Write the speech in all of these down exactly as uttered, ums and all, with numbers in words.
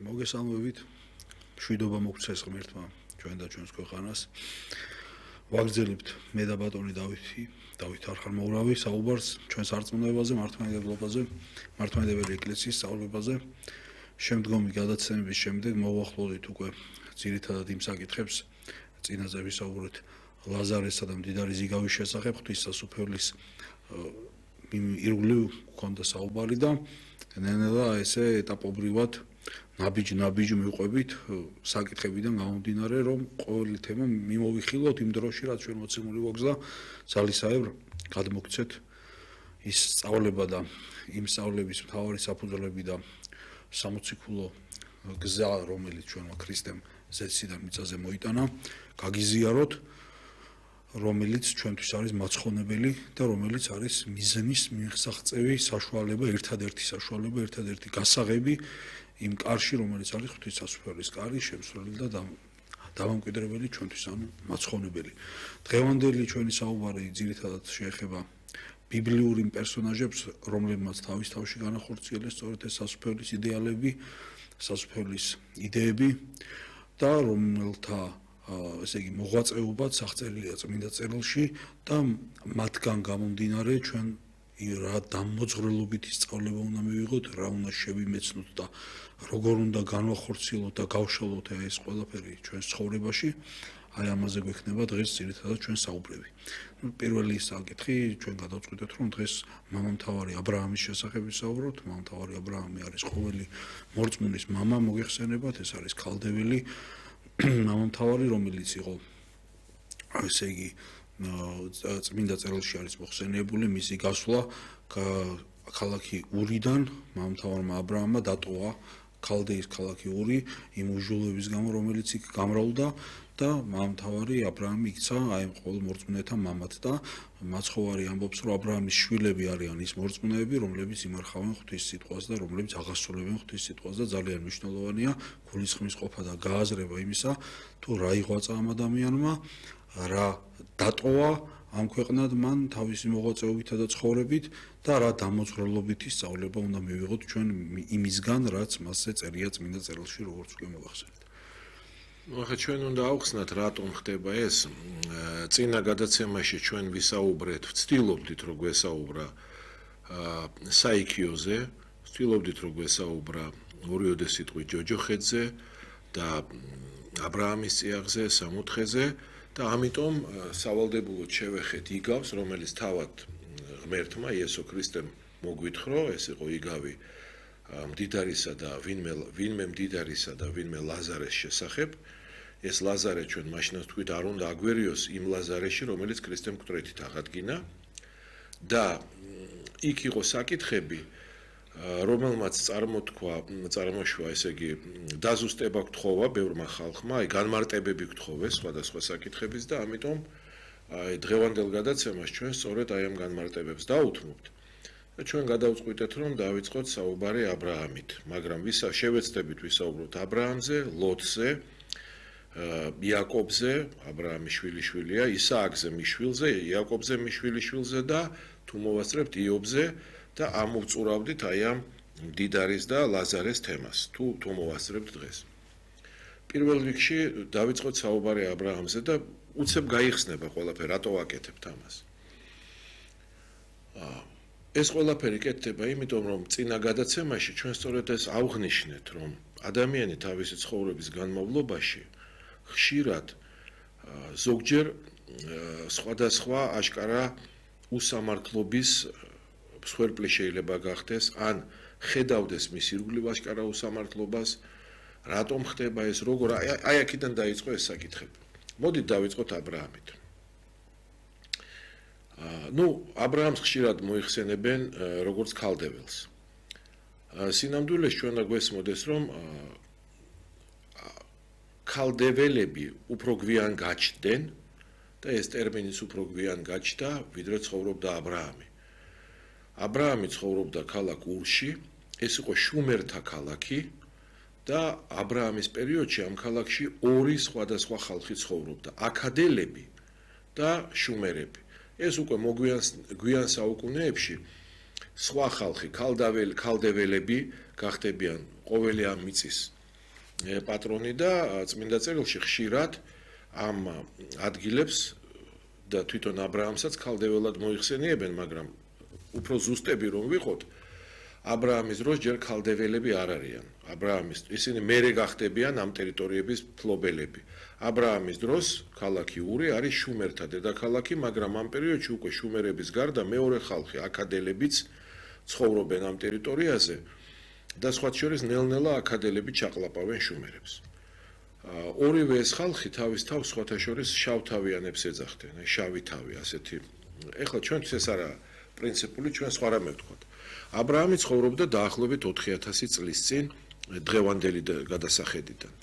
მოგესალმებით. მშვიდობა მოგცეს ღმერთმა ჩვენ და ჩვენს ქვეყანას. ვაგრძელებთ მე და ბატონი დავითი, დავით არხამოვრავი საუბარს ჩვენს არწმუნოებაზე, მართლმადიდებლობაზე, მართლმადიდებელი ეკლესიის სწავლებაზე. შემდგომი გადაცემების შემდეგ მოვახლოვდით უკვე ძირითადად იმ საკითხებს, წინაზე ვისაუბრეთ ლაზარესა და მდიდარი ზიგავის შესახებ, ღვთისმსახურების ირგვლივ გქონდა საუბარი და ნელა ესე ეტაპობრივად ნაბიჯ-ნაბიჯ მივყვებით საკითხებიდან გამომდინარე, რომ ყოველი თემა მიმოვიხილოთ იმ დროში, რაც ჩვენ მოცემული გვაქვს და ძალისხმევ გადმოგცეთ ის სწავლება და იმ სწავლების მთავარი საფუძვლები და სამოციქულო გზა, რომელიც ჩვენმა ქრისტემ ზეციდან მიწაზე მოიტანა, გაგიზიაროთ, რომელიც ჩვენთვის არის მაცხონებელი და რომელიც არის მიზნის მიღწევი საშუალება, ერთადერთი საშუალება, ერთადერთი გასაღები იმ კარში, რომელიც არის ღვთისმსახურების კარი, შემსვლელი და დამამკვიდრებელი ჩვენთვის, ანუ მაცხონებელი. დღევანდელი ჩვენი საუბარი ძირითადად შეეხება ბიბლიურ იმ პერსონაჟებს, რომლებმაც თავის თავში განახორციელეს სწორედ ეს სასუფეველის იდეალები, სასუფეველის იდეები და რომელთა ესე იგი მოღვაწეობაც აღწერილია წმინდა წერილში და მათგან გამომდინარე ჩვენ რა დამოძღვრელობითი სწავლება უნდა მივიღოთ, რა უნდა შევიმეცნოთ და როგორ უნდა განვახორციელოთ და გავშალოთ ეს ყველაფერი ჩვენს ცხოვრებაში. აი ამაზე გვექნება დღეს ძირითადად ჩვენ საუბრები. ნუ პირველი საკითხი ჩვენ გადავწყვიტეთ, რომ დღეს მამამთავარი აბრაამის შესახებ ვისაუბროთ. მამამთავარი აბრაამი არის ყოველი მორწმუნის მამა, მოგეხსენებათ, ეს არის ქალდეველი მამამთავარი, რომელიც იყო ესე იგი წმინდა წერილში არის მოხსენიებული მისი გასვლა ქალაქი ურიდან მამამთავარმა აბრაამმა დატოვა ქალდეის ქალაქი ური იმ უჟულების გამო, რომელიც იქ გამრავლდა და მამამთავარი აბრაამი იქცა აი ამ ყოველ მორწმუნეთა მამად და მაცხოვარი ამბობს, რომ აბრაამის შვილები არიან ის მორწმუნეები, რომლებიც იმარხავენ ღვთის სიტყვას და რომლებიც აღასრულებენ ღვთის სიტყვას და ძალიან მნიშვნელოვანია გულისხმის ყოფა და გააზრება იმისა, თუ რა იღვაწა ამ ადამიანმა, რა დატოვა ამ ქვეყნად მან თავისი მოღვაწეობითა და ცხოვრებით და რა დამოძღვრელობითი სწავლება უნდა მივიღოთ ჩვენ იმისგან, რაც მასზე წერია წმინდა წერილში, როგორც უკვე მოვახსენეთ. ახლა ჩვენ უნდა ავხსნათ, რატომ ხდება ეს. წინა გადაცემაში ჩვენ ვისაუბრეთ, ვცდილობდით რომ გვესაუბრა საიქიოზე, ვცდილობდით რომ გვესაუბრა ორიოდე სიტყვით ჯოჯოხეთზე და აბრაამის წიაღზე, სამოთხეზე და ამიტომ სავალდებულოდ შევეხეთ იგავს, რომელიც თავად ღმერთმა იესო ქრისტემ მოგვითხოვა, ეს იყო იგავი მდიდარისა და ვინმე ვინმე მდიდარისა და ვინმე ლაზარეს შესახებ. ეს ლაზარე ჩვენ მაშინაც თქვით, არ უნდა აგვერიოს იმ ლაზარეში, რომელიც ქრისტემ მკვდრეთით აღადგინა და იქ იყო საკითხები, რომელმაც წარმოთქვა, წარმოშვა, ესე იგი, დაზუსტება გთხოვა ბევრმა ხალხმა, აი განმარტებები გთხოვეს სხვადასხვა საკითხების და ამიტომ აი დღევანდელ გადაცემას ჩვენ სწორედ აი ამ განმარტებებს დავუთმობთ. და ჩვენ გადავწყვიტეთ, რომ დავიწყოთ საუბარი აბრაამით, მაგრამ ვისა შევეცდებით ვისაუბროთ აბრაამზე, ლოტზე, იაკობზე, აბრაამის შვილიშვილია, ისააკზე მიშვილზე, იაკობზე მიშვილიშვილზე და თუ მოვასწრებთ იობზე და ამოვწურავდით აი ამ მდიდარის და ლაზარეს თემას, თუ თუ მოვასწრებთ დღეს. პირველ რიგში დავიწყოთ საუბარი აბრაამზე და უცებ გაიხსნება ყველაფერი, რატო ვაკეთებთ ამას. ეს ყველაფერი კეთდება იმიტომ, რომ წინა გადაცემაში ჩვენ სწორედ ეს ავღნიშნეთ, რომ ადამიანი თავისი ცხოვრების განმავლობაში ხშირად ზოგჯერ სხვადასხვა აშკარა უსამართლობის მსხვერპლი შეიძლება გახდეს, ან ხედავდეს მის ირგვლივ აშკარა უსამართლობას, რატომ ხდება ეს, როგორ აი აქედან დაიწყო ეს საკითხები. მოდით დავიწყოთ აბრაამით. ნუ აბრაამს ხშირად მოიხსენებენ როგორც ქალდეველს. სინამდვილეს ჩვენ და გვესმოდეს, რომ ქალდეველები უფრო გვიან გაჩნდნენ და ეს ტერმინიც უფრო გვიან გაჩნდა, ვიდრე ცხოვრობდა აბრაამი. აბრაამი ცხოვრობდა ქალაქ ურში, ეს იყო შუმერთა ქალაქი და აბრაამის პერიოდში ამ ქალაქში ორი სხვადასხვა ხალხი ცხოვრობდა, აქადელები და შუმერები. ეს უკვე მოგვიან გვიან საუკუნეებში სხვა ხალხი, ქალდეველები გახდებიან ყოველი ამ მიწის პატრონი და წმინდა წერილში ხშირად ამ ადგილებს და თვითონ აბრაამსაც ქალდეველად მოიხსენიებენ, მაგრამ უფრო ზუსტები რომ ვიყოთ, აბრაამის დროს ჯერ ქალდეველები არ არიან. აბრაამის ისინი მერე გახდებიან ამ ტერიტორიების ფლობელები. აბრაამის დროს ქალაქი ური არის შუმერთა დედაქალაქი, მაგრამ ამ პერიოდში უკვე შუმერების გარდა მეორე ხალხი აკადელებიც ცხოვრობენ ამ ტერიტორიაზე და სხვა შორის ნელ-ნელა აკადელები ჩაყლაპავენ შუმერებს. ორივე ეს ხალხი თავის თავს სხვათა შორის შავთავიანებს ეძახდნენ, აი შავი თავი, ასეთი. ეხლა ჩვენთვის ეს არა პრინციპული, ჩვენ სხვა რამე ვთქვათ. აბრაამი ცხოვრობდა დაახლოებით ოთხი ათასი წლის წინ დღევანდელი გადასახედიდან.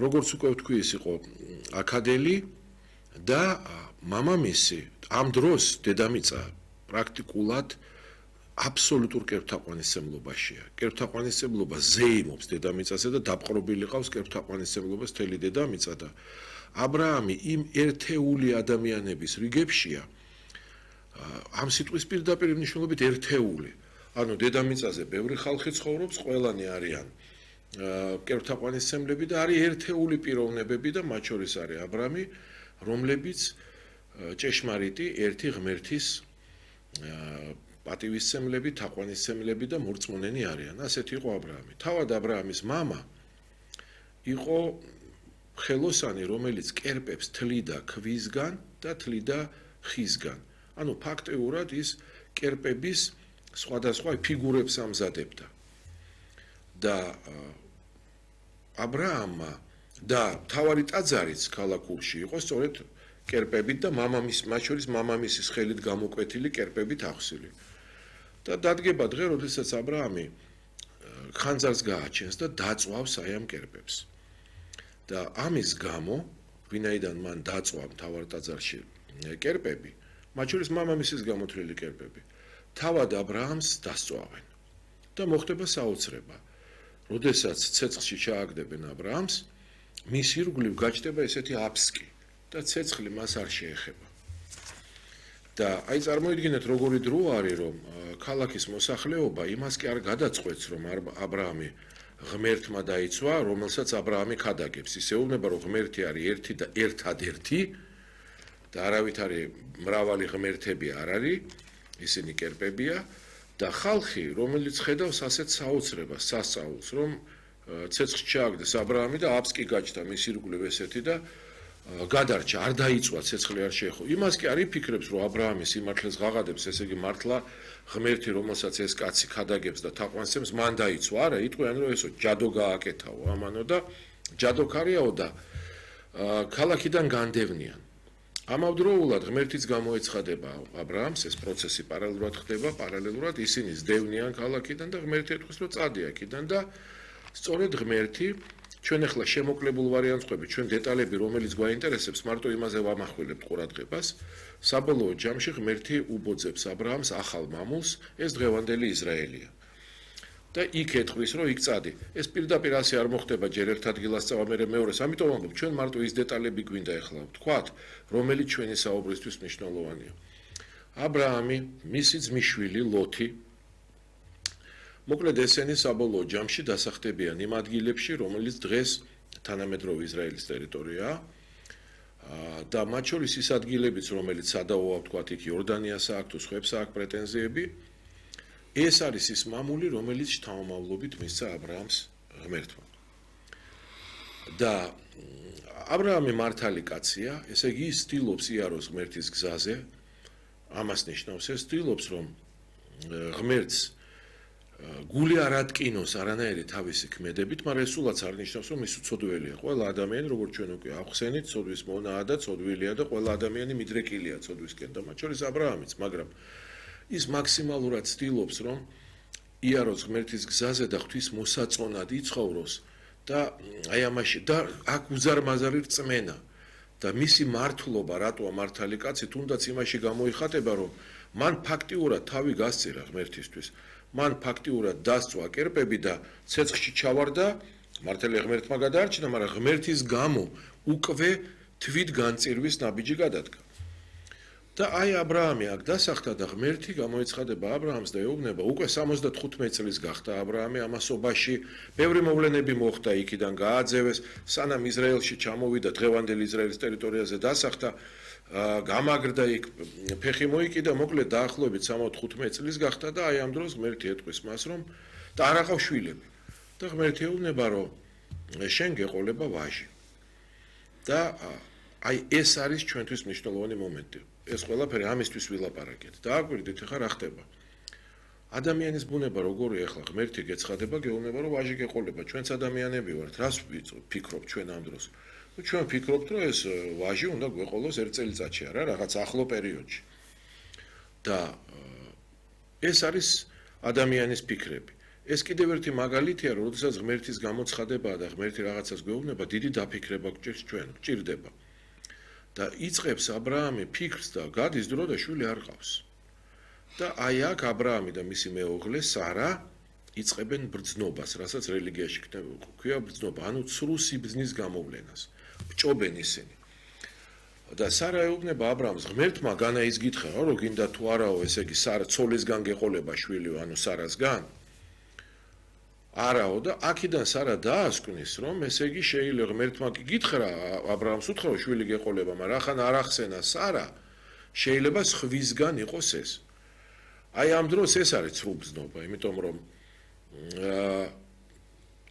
როგორც უკვე ვთქვი, ის იყო აკადელი და მამამისი ამ დროს დედამიწა პრაქტიკულად აბსოლუტურ კერპთაყვანისმცემლობაშია. კერპთაყვანისმცემლობა ზეიმობს დედამიწაზე და დაპყრობილი ყავს კერპთაყვანისმცემლობას მთელი დედამიწა და აბრაამი იმ ერთეული ადამიანების რიგებშია, ამ სიტყვის პირდაპირ მნიშვნელობით ერთეული. ანუ დედამიწაზე ბევრი ხალხი ცხოვრობს, ყველანი არიან კერპთაყვანისმცემლები და არის ერთეული პიროვნებები და მათ შორის არის აბრამი, რომლებიც ჭეშმარიტი ერთი ღმერთის პატივისცემლები, თაყვანისცემლები და მორწმუნენი არიან. ასეთი იყო აბრაამი. თავად აბრაამის მამა იყო ხელოსანი, რომელიც კერპებს თლიდა ქვისგან და თლიდა ხისგან. ანუ ფაქტიურად ის კერპების სხვადასხვა ფიგურებს ამზადებდა. და აბრაამმა და თავარი ტაძარიც ქალაქურში იყო სწორედ კერპებით და მამამის, მათ შორის მამამისის ხელით გამოკვეთილი კერპებით ახსილი. და დადგება დღე, როდესაც აბრაამი ხანძარს გააჩენს და დაწვავს აი ამ კერპებს. და ამის გამო, ვინაიდან მან დაწვა მთავარ ტაძარში კერპები, მათ შორის მამამისის გამოთვლილი კერპები, თავად აბრაამს დასწვავენ. და მოხდება საოცრება. როდესაც ცეცხლში ჩააგდებენ აბრაამს, მის ირგვლივ გაჩნდება ესეთი აფსკი და ცეცხლი მას არ შეეხება. და აი წარმოიდგინეთ როგორი დრო არის, რომ ქალაქის მოსახლეობა იმას კი არ გადაწყვეტს, რომ აბრაამი ღმერთმა დაიცვა, რომელსაც აბრაამი ქადაგებს. ის ეუბნება, რომ ღმერთი არის ერთი და ერთადერთი და არავითარი მრავალი ღმერთები არ არის, ისინი კერპებია და ხალხი, რომელიც ხედავს ასეთ საოცრებას, სასწაულს, რომ ცეცხლში ჩააგდეს აბრაამი და აფსკი გაჩნდა მის ირგვლივ ესეთი და გადარჩა, არ დაიწვა, ცეცხლი არ შეეხო. იმას კი არ იფიქრებს, რომ აბრაამი სიმართლეს ღაღადებს, ესე იგი მართლა ღმერთი, რომელსაც ეს კაცი ქადაგებს და თაყვანისცემს, მან დაიცვა. არა, იტყვიან, რომ ესო ჯადო გააკეთაო ამანო და ჯადოქარიაო და ქალაქიდან განდევნიან. ამავდროულად ღმერთიც გამოეცხადება აბრაამს, ეს პროცესი პარალელურად ხდება, პარალელურად ისინი ზდევნიან ქალაქიდან და ღმერთი ეთქვის, რომ წადი აქედან და სწორედ ღმერთი, ჩვენ ახლა შემოკლებულ ვარიანტს ყვებით, ჩვენ დეტალები, რომელიც გვაინტერესებს, მარტო იმაზე ვამახვილებთ ყურადღებას, საბოლოო ჯამში ღმერთი უბოძებს აბრაამს ახალ მამულს, ეს დღევანდელი ისრაელია. და იქ ეთქვის, რომ იქ წადი. ეს პირდაპირ ასე არ მოხდება ჯერ ერთ ადგილას წავა, მერე მეორეს. ამიტომ ვამბობ, ჩვენ მარტო ის დეტალები გვინდა ახლა ვთქვათ, რომელიც ჩვენი საუბრისთვის მნიშვნელოვანია. აბრაამი, მისი ძმისშვილი ლოთი, მოკლედ ესენი საბოლოო ჯამში დასახდებიან იმ ადგილებში, რომელიც დღეს თანამედროვე ისრაელის ტერიტორიაა. და მათ შორის ის ადგილებიც, რომელიც სადავოა ვთქვათ, იქ იორდანიას აქვს, თუ სხვებს აქვს პრეტენზიები. ეს არის ის მამული, რომელიც შთამომავლობით მისცა აბრაამს ღმერთმა. და აბრაამი მართალი კაცია, ესე იგი ის ცდილობს იაროს ღმერთის გზაზე. ამას ნიშნავს ეს ცდილობს, რომ ღმერთს გული არ ატკინოს არანაირი თავისი ქმედებით, მაგრამ ეს სულაც არ ნიშნავს, რომ ის უცოდველია. ყველა ადამიანი, როგორც ჩვენ უკვე ახსენით, ცოდვის მონაა და ცოდვილია და ყველა ადამიანი მიდრეკილია ცოდვისკენ და მათ შორის აბრაამიც, მაგრამ ის მაქსიმალურად ცდილობს, რომ იაროს ღმერთის გზაზე და ღვთის მოსაწონად იცხოვროს და აი ამაში და აქ უზარმაზარი რწმენა და მისი მართლობა, რატოა მართალი კაცი, თუნდაც იმაში გამოიხატება, რომ მან ფაქტიურად თავი გასწირა ღმერთისთვის. მან ფაქტიურად დასწვა კერპები და ცეცხლში ჩავარდა, მართალი ღმერთმა გადაარჩინა, მაგრამ ღმერთის გამო უკვე თვით განწირვის ნაბიჯი გადადგა. და აი აბრაამი აქ დასახდა და ღმერთი გამოეცხადება აბრაამს და ეუბნება, უკვე სამოცდათხუთმეტი წლის გახდა აბრაამი ამასობაში, ბევრი მოვლენები მოხდა, იქიდან გააძევეს, სანამ ისრაელში ჩამოვიდა, დღევანდელი ისრაელის ტერიტორიაზე დასახდა, გამაგრდა იქ, ფეხი მოიკიდა, მოკლედ დაახლოებით სამოცდათხუთმეტი წლის გახდა და აი ამ დროს ღმერთი ეტყვის მას, რომ და არ აყავს შვილები. და ღმერთი ეუბნება, რომ შენ გეყოლება ვაჟი. და აი ეს არის ჩვენთვის მნიშვნელოვანი მომენტი. ეს ყველაფერი ამისთვის ვილაპარაკეთ. და აკვირდით, ახლა რა ხდება? ადამიანის ბუნება როგორია ახლა ღმერთი გეცხადება, გეუბნება, რომ ვაჟი გეყოლება, ჩვენც ადამიანები ვართ, რას ვფიქრობთ ჩვენ ამ დროს? ჩვენ ვფიქრობთ, რომ ეს ვაჟი უნდა გვეყოლოს ერთ წელიწადში, არა, რაღაც ახლო პერიოდში. და ეს არის ადამიანის ფიქრები. ეს კიდევ ერთი მაგალითია, რომ როდესაც ღმერთის გამოცხადებაა და ღმერთი რაღაცას გვეუბნება, დიდი დაფიქრება გვჭირს ჩვენ, გვჭირდება. და იწყებს აბრაამი ფიქრს და გადის დრო და შვილი არ ყავს. და აი აქ აბრაამი და მისი მეუღლე სარა იწყებენ ბრძნობას, რასაც რელიგიაში ქვია ბრძნობა, ანუ ცრუ სიბრძნის გამოვლენას. ბჭობენ ისინი. და სარა ეუბნება აბრაამს, ღმერთმა განაიზგითხა, რომ გინდა თუ არაო, ესე იგი სარა ცოლისგან გეყოლება შვილი, ანუ სარასგან. არაო და აქედან სარა დაასკვნის, რომ ესე იგი შეიძლება ღმერთმა გითხრა აბრაამს უთხრა რომ შვილი გეყოლება, მაგრამ ახან არ ახსენა სარა, შეიძლება სხვისგან იყოს ეს. აი ამ დროს ეს არის ცრუ ბრძნობა, იმიტომ რომ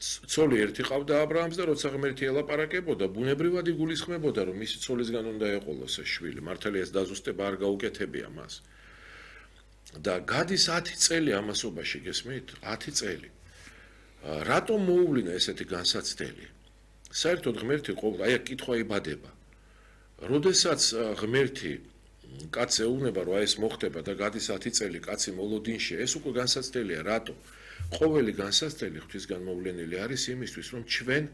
ცოლი ერთი ყავდა აბრაამს და როცა ღმერთი ელაპარაკებოდა, ბუნებრივად იგულისხმებოდა, რომ მისი ცოლისგან უნდა ეყოლოს ეს შვილი, მართალია ეს დაზუსტება არ გაუკეთებია მას. და გადის ათი წელი ამასობაში, გესმით? ათი წელი. რატომ მოუვლინა ესეთი განსაცდელი? საერთოდ ღმერთი ყოველ აი კითხვა იბადება. როდესაც ღმერთი კაცს ეუბნება, რომ აი ეს მოხდება და გადის ათი წელი კაცი მოლოდინში, ეს უკვე განსაცდელია, რატომ? ყოველი განსაცდელი ღვთისგან მოვლენილი არის იმისთვის, რომ ჩვენ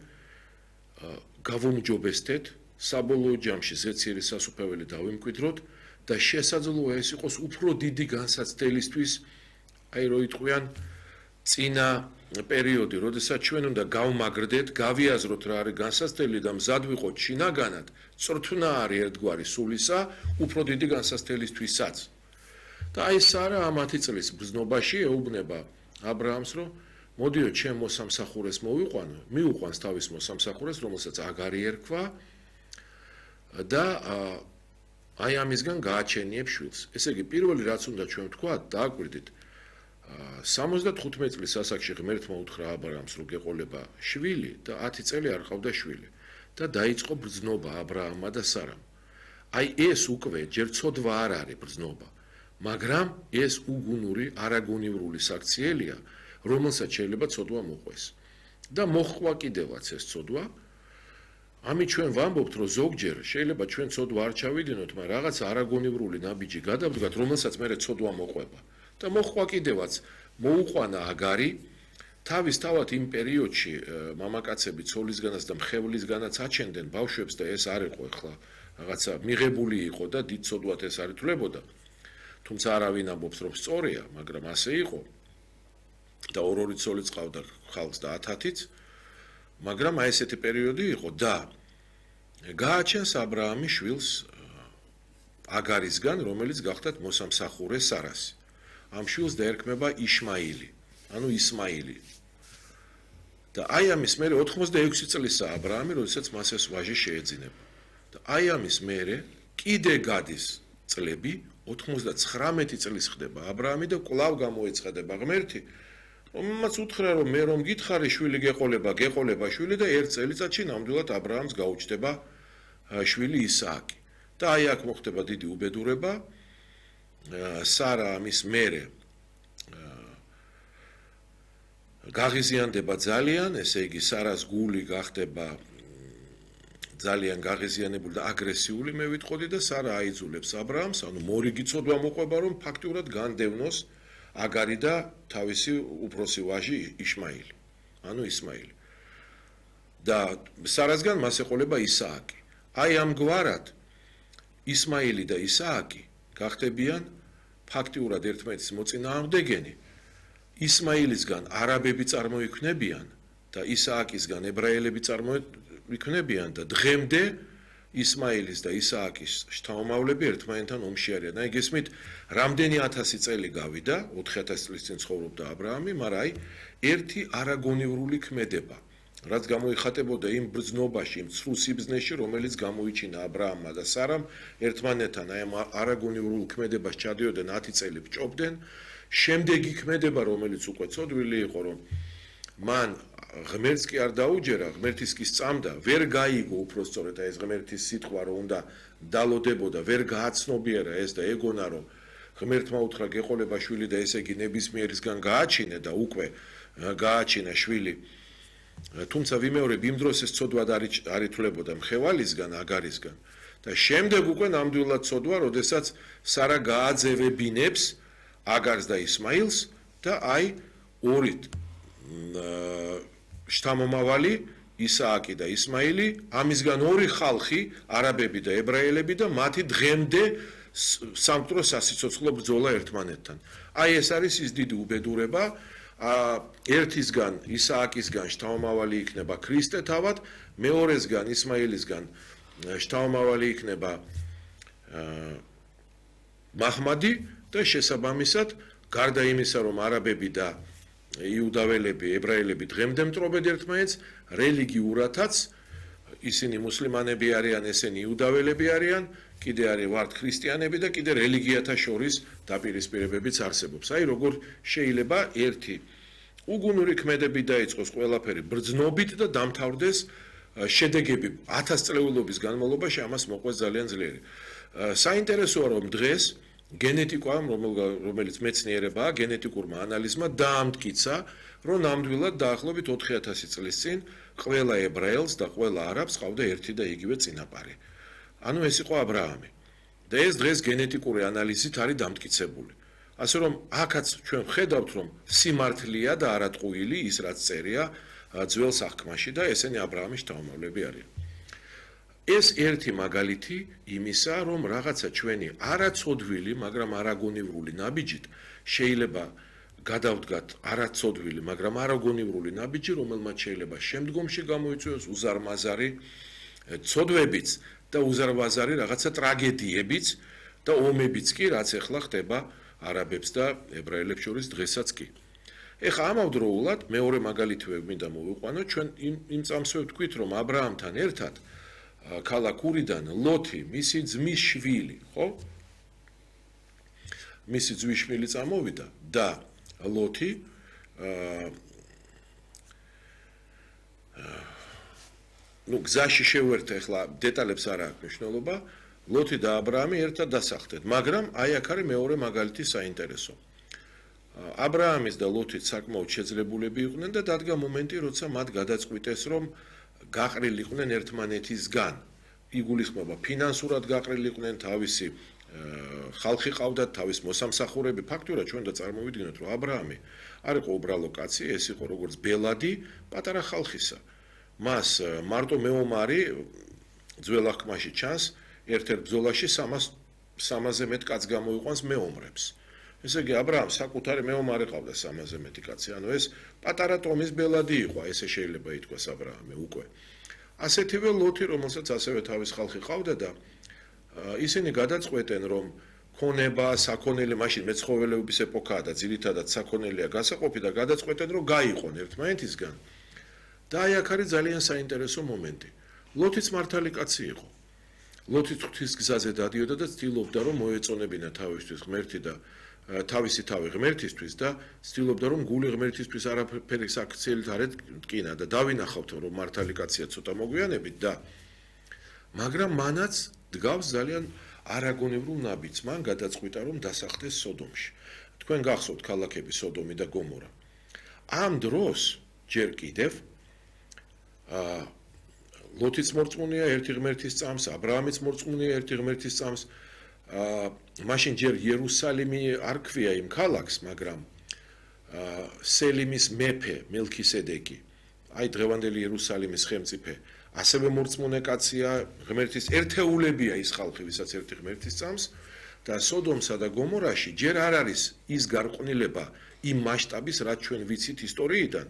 გავუმჯობესდეთ, საბოლოო ჯამში ზეციერი სასუფეველი დავიმკვიდროთ და შესაძლოა ეს იყოს უფრო დიდი განსაცდელისთვის, აი რო იტყვიან წინა პერიოდი, როდესაც ჩვენ უნდა გავმაგრდეთ, გავიაზროთ რა არის განსაცდელი და მზად ვიყოთ შინაგანად, წრთნა არის ერთგვარი სულისა, უფრო დიდი განსაცდელისთვისაც. და აი სარა ამ ათი წლის ბრძნობაში ეუბნება აბრაამს, რომ მოდიო ჩემ მოსამსახურეს მოვიყვანო, მიუყვანს თავის მოსამსახურეს, რომელსაც აგარი ერქვა და აი ამისგან გააჩენიებ შვილს. ესე იგი, პირველი რაც უნდა ჩვენ ვთქვათ, დააკვირდით, სამოცდათხუთმეტი წლის ასაკში ღმერთმა უთხრა აბრაამს, რომ გეყოლება შვილი და ათი წელი არ ყავდა შვილი და დაიწყო ბრძნობა აბრაამმა და სარამ. აი ეს უკვე ჯერ ცოდვა არ არის ბრძნობა, მაგრამ ეს უგუნური, არაგუნივრული საქციელია, რომელსაც შეიძლება ცოდვა მოყვეს. და მოხვა კიდევაც ეს ცოდვა. ამით ჩვენ ვამბობთ, რომ ზოგჯერ შეიძლება ჩვენ ცოდვა არ ჩავიდინოთ, მაგრამ რაღაც არაგუნივრული ნაბიჯი გადავდგათ, რომელსაც მერე ცოდვა მოყვება. და მოხვა კიდევაც მოუყვანა აგარი, თავისთავად იმ პერიოდში მამაკაცები ცოლისგანაც და მხევლისგანაც აჩენდნენ ბავშვებს და ეს არ იყო ახლა რაღაცა მიღებული იყო და დიდ ცოდვად ეს არ ითვლებოდა. თუმცა არავინ ამბობს, რომ სწორია, მაგრამ ასე იყო. და ორ-ორი ცოლი წავდა ხალხს და ათ-ათიც, მაგრამ აი ესეთი პერიოდი იყო და გააჩენს აბრაამი შვილს აგარისგან, რომელიც გახდათ მოსამსახურე სარასი. ამ შვილს დაერქმება იშმაილი, ანუ ისმაილი. და აი ამის მერე ოთხმოცდაექვსი წლისაა აბრაამი, როდესაც მას ეს ვაჟი შეეძინება. და აი ამის მერე კიდე გადის წლები, ოთხმოცდაცხრამეტი წლის ხდება აბრაამი და კვლავ გამოეცხადება ღმერთი, რომელმაც უთხრა, რომ მე რომ გითხარი შვილი გეყოლება, გეყოლება შვილი და ერთ წელიწადში ნამდვილად აბრაამს გაუჩნდება შვილი ისააკი. და აი აქ მოხდება დიდი უბედურება. სარა ამის მერე გაღიზიანდება ძალიან, ესე იგი სარას გული გახდება ძალიან გაღიზიანებული და აგრესიული, მე ვიტყოდი და სარა აიძულებს აბრაამს, ანუ მორიგი ცოდვა მოყვება, რომ ფაქტიურად განდევნოს აგარი და თავისი უფროსი ვაჟი იშმაილი, ანუ ისმაილი. და სარასგან მას ეყოლება ისააკი. აი ამგვარად ისმაილი და ისააკი გახდებიან ფაქტიურად ერთმანეთის მოწინააღმდეგენი. ისმაილისგან არაბები წარმოიქმნებიან და ისააკისგან ებრაელები წარმოიქმნებიან და დღემდე ისმაილის და ისააკის შთამომავლები ერთმანეთთან ომში არიან. აი გესმით, რამდენი ათასი წელი გავიდა, ოთხი ათასი წლის წინ ცხოვრობდა ა ブラ ამი, მაგრამ აი ერთი არაგონივრული ქმედება, რაც გამოიხატებოდა იმ ბრძნობაში, იმ ცრუ სიბზნეში, რომელიც გამოიჩინა ა ブラ ამმა და სარამ, ერთმანეთთან აი ამ არაგონივრულ ქმედებას ჩადიოდნენ ათი წელი ბჭობდნენ. შემდეგი ქმედება, რომელიც უკვე ცოდვილი იყო, რომ მან ღმერთს კი არ დაუჯერა, ღმერთის კი სწამდა, ვერ გაიგო უпростоრეთ ეს ღმერთის სიტყვა, რომ უნდა დალოდებოდა, ვერ გააცნობიერა ეს და ეგონა, რომ ღმერთმა უთხრა გეყოლება შვილი და ესე იგი ნებისმიერისგან გააჩინე და უკვე გააჩინა შვილი. თუმცა ვიმეორებ, იმ დროს ეს ცოდვა არ ითვლებოდა მხევალისგან, აგარისგან და შემდეგ უკვე ნამდვილად ცოდვა, როდესაც სარა გააძევებინებს აგარს და ისმაილს და აი ორი შთამომავალი ისააკი და ისმაილი, ამისგან ორი ხალხი, არაბები და ებრაელები და მათი დღემდე სამკვდრო სასიცოცხლო ბრძოლა ერთმანეთთან. აი ეს არის ის დიდი უბედურება, ერთისგან ისააკისგან შთამომავალი იქნება ქრისტე თავად, მეორესგან ისმაილისგან შთამომავალი იქნება მაჰმადი და შესაბამისად, გარდა იმისა, რომ არაბები და იუდაველები, ებრაელები დღემდე მტრობენ ერთმანეთს, რელიგიურათაც ისინი მუსლიმანები არიან, ესენი იუდაველები არიან, კიდე არის ვართ ქრისტიანები და კიდე რელიგიათა შორის დაპირისპირებებიც არსებობს. აი როგორ შეიძლება ერთი უგუნური ქმედები დაიწყოს ყველაფერი ბრძნობით და დამთავრდეს შედეგები ათასწლეულობის განმავლობაში, ამას მოყვეს ძალიან ძლიერი. საინტერესოა, რომ დღეს გენეტიკამ, რომელიც მეცნიერებაა, გენეტიკურმა ანალიზმა დაამტკიცა, რომ ნამდვილად დაახლოებით ოთხი ათასი წლის წინ ყველა ებრაელს და ყველა არაბს ყავდა ერთი და იგივე წინაპარი. ანუ ეს იყო ა ブラ ამი. და ეს დღეს გენეტიკური ანალიზით არის დამტკიცებული. ასე რომ აქაც ჩვენ ვხედავთ, რომ სიმართლეა და არატყუილი ის რაც წერია ძველ სახკმაში და ესენი ა ブラ ამის შთამომავლები არიან. ეს ერთი მაგალითი იმისა, რომ რაღაცა ჩვენი არაცოდვილი, მაგრამ არაგონივრული ნაბიჯით შეიძლება გადავდგათ არაცოდვილი, მაგრამ არაგონივრული ნაბიჯი, რომელმაც შეიძლება შემდგომში გამოიწვიოს უზარმაზარი ცოდვებიც და უზარმაზარი რაღაცა ტრაგედიებიც და ომებიც კი, რაც ახლა ხდება არაბებს და ებრაელებს შორის დღესაც კი. ეხლა ამავდროულად მეორე მაგალითი მინდა მოვიყვანო, ჩვენ იმ წამსვე ვთქვით, რომ ა ブラ ამთან ერთად ქალაქ ურიდან ლოთი, მისი ძმის შვილი, ხო? მისი ძმის შვილი წამოვიდა და ლოთი აა ნუ გზაში შევერთ, ახლა დეტალებს არ აქვს მნიშვნელობა, ლოთი და ა ブラ ამი ერთად დასახლდნენ, მაგრამ აი აქ არის მეორე მაგალითი საინტერესო. ა ブラ ამის და ლოთის საკმაოდ შეძლებულები იყვნენ და დადგა მომენტი, როცა მათ გადაწყვიტეს, რომ გაყრილიყვნენ ერთმანეთისგან. იგულისხმება ფინანსურად გაყრილიყვნენ, თავისი ხალხი ყავდათ, თავის მოსამსახურები, ფაქტურად ჩვენ და წარმოვიდგინოთ, რომ ა ブラ ამი არ იყო უბრალო კაცი, ეს იყო როგორც ბელადი პატარა ხალხისა. მას მარტო მეომარი ძველ აღქმაში ჩანს, ერთ-ერთ ბრძოლაში სამასზე მეტ კაცს გამოიყვანს მეომრებს. ესე იგი, ა ブラ ამს საკუთარი მეომარი ყავდა სამასზე მეტი კაცი, ანუ ეს პატარა ტომის ბელადი იყო, ესე შეიძლება ითქვას ა ブラ ამი უკვე. ასეთივე ლოთი, რომელსაც ასევე თავის ხალხი ყავდა და ისინი გადაწყვეტენ, რომ ქონება, საქონელი, მაშინ მეცხოველეობის ეპოქაა და ძირითადად საქონელია გასაყოფი და გადაწყვეტენ, რომ გაიყონ ერთმანეთისგან. და აი აქ არის ძალიან საინტერესო მომენტი. ლოთიც მართალი კაცი იყო. ლოთი ღვთის გზაზე დადიოდა და ცდილობდა, რომ მოეწონებინა თავისთვის ღმერთი და თავისი თავი ღმერთისთვის და ცდილობდა, რომ გული ღმერთისთვის არაფერი საქციელით არ ეთკინა და დავინახავთ, რომ მართალი კაცია ცოტა მოგვიანებით და მაგრამ მანაც დგავს ძალიან არაგონივრულ ნაბიჯს, მან გადაწყვიტა, რომ დასახლდეს სოდომში. თქვენ გახსოვთ ქალაქები სოდომი და გომორა. ამ დროს ჯერ კიდევ აა ლოთიც მორწმუნეა ერთი ღმერთის წამს, ა ブラ ამიც მორწმუნეა ერთი ღმერთის წამს. აა მაშინ ჯერ იერუსალიმი არ ქვია იმ ქალაქს, მაგრამ აა სელიმის მეფე მელქისედეკი, აი დღევანდელი იერუსალიმის ხელმწიფე, ასევე მორწმუნე კაცია, ღმერთის ერთეულებია ის ხალხი, ვისაც ერთი ღმერთის წამს და სოდომსა და გომორაში ჯერ არ არის ის გარყვნილება იმ მასშტაბის, რაც ჩვენ ვიცით ისტორიიდან,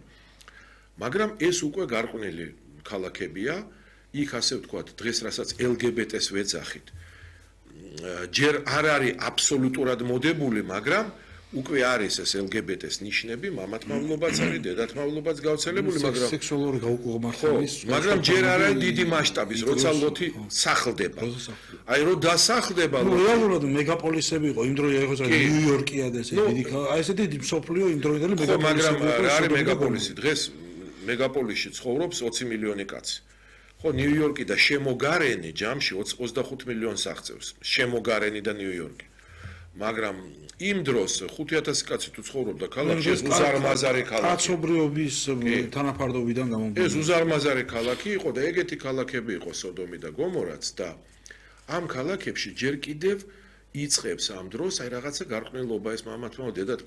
მაგრამ ეს უკვე გარყვნილი ქალაქებია, იქ ასე ვთქვათ, დღეს რასაც ელ გი ბი ტეს ვეძახით, ჯერ არ არის აბსოლუტურად მოდებული, მაგრამ უკვე არის ეს ელ გი ბი ტეს ნიშნები, მამათმავლობაც არის, დედათმავლობაც გავრცელებული, მაგრამ სექსუალური გაუკუღმართების, მაგრამ ჯერ არ არის დიდი მასშტაბის, როცა ლოთი სახლდება. აი რომ დასახლდება ლოთი. რეალურად მეგაპოლისები იყო, იმ დროი იყო ნიუ-იორკია და ესე დიდი, აი ესე დიდი მსოფლიო იმ დროინდელი მეგაპოლისები. მაგრამ რა არის მეგაპოლისი? დღეს მეგაპოლისში ცხოვრობს ოცი მილიონი კაცი. ხო, ნიუ-იორკი და შემოგარენი ჯამში ოცდახუთ მილიონს აღწევს. შემოგარენი და ნიუ-იორკი. მაგრამ იმ დროს ხუთი ათასი კაცი თუ ცხოვრობდა ქალაქში, ეს უზარმაზარი ქალაქი. კაცობრიობის თანაფარდობიდან გამომდინარე. ეს უზარმაზარი ქალაქი იყო და ეგეთი ქალაქები იყო სოდომი და გომორაც და ამ ქალაქებში ჯერ კიდევ იწყებს ამ დროს აი რაღაცა გარყვნილობა ეს მამათმა დედათ